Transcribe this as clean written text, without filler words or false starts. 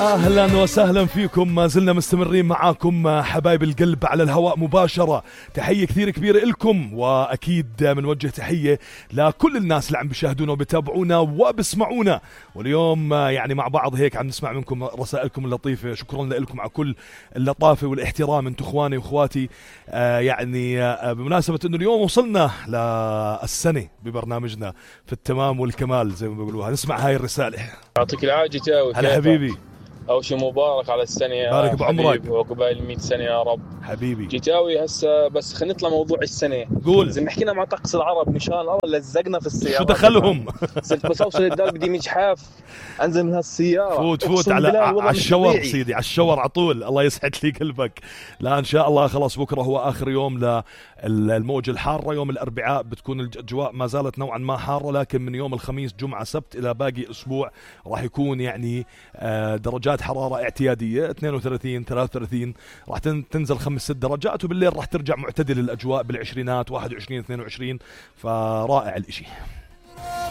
أهلا وسهلا فيكم، ما زلنا مستمرين معاكم حبايب القلب على الهواء مباشرة. تحية كثير كبيرة لكم، وأكيد منوجه تحية لكل الناس اللي عم بيشاهدونا وبيتابعونا وبسمعونا. واليوم يعني مع بعض هيك عم نسمع منكم رسائلكم اللطيفة. شكرا لكم على كل اللطافة والاحترام، انتم اخواني واخواتي. يعني بمناسبة انه اليوم وصلنا للسنة ببرنامجنا في التمام والكمال زي ما بيقولوها. نسمع هاي الرسالة. يعطيك العافية جتاوي. هلا حبيبي، أول شيء مبارك على السنة يا بارك بعمرك وعقبال 100 سنة يا رب حبيبي. جتاوي هسه بس خلينا نطلع موضوع السنة. قول. إذا حكينا مع طقس العرب مشان الله لزقنا في السيارة. شو دخلهم؟ صرت بس أوصل الدار بدي مجحاف أنزل من هالسيارة. فوت على الشور سيدي، على الشور على طول. الله يسعد لي قلبك. لا إن شاء الله خلاص بكرة هو آخر يوم للموجة الحارة. يوم الأربعاء بتكون الأجواء ما زالت نوعا ما حارة، لكن من يوم الخميس جمعة سبت إلى باقي أسبوع راح يكون يعني درجات حرارة اعتيادية 32 33، راح تنزل 5-6 درجات، وبالليل راح ترجع معتدل الأجواء بالعشرينات 21 22. فرائع الاشي.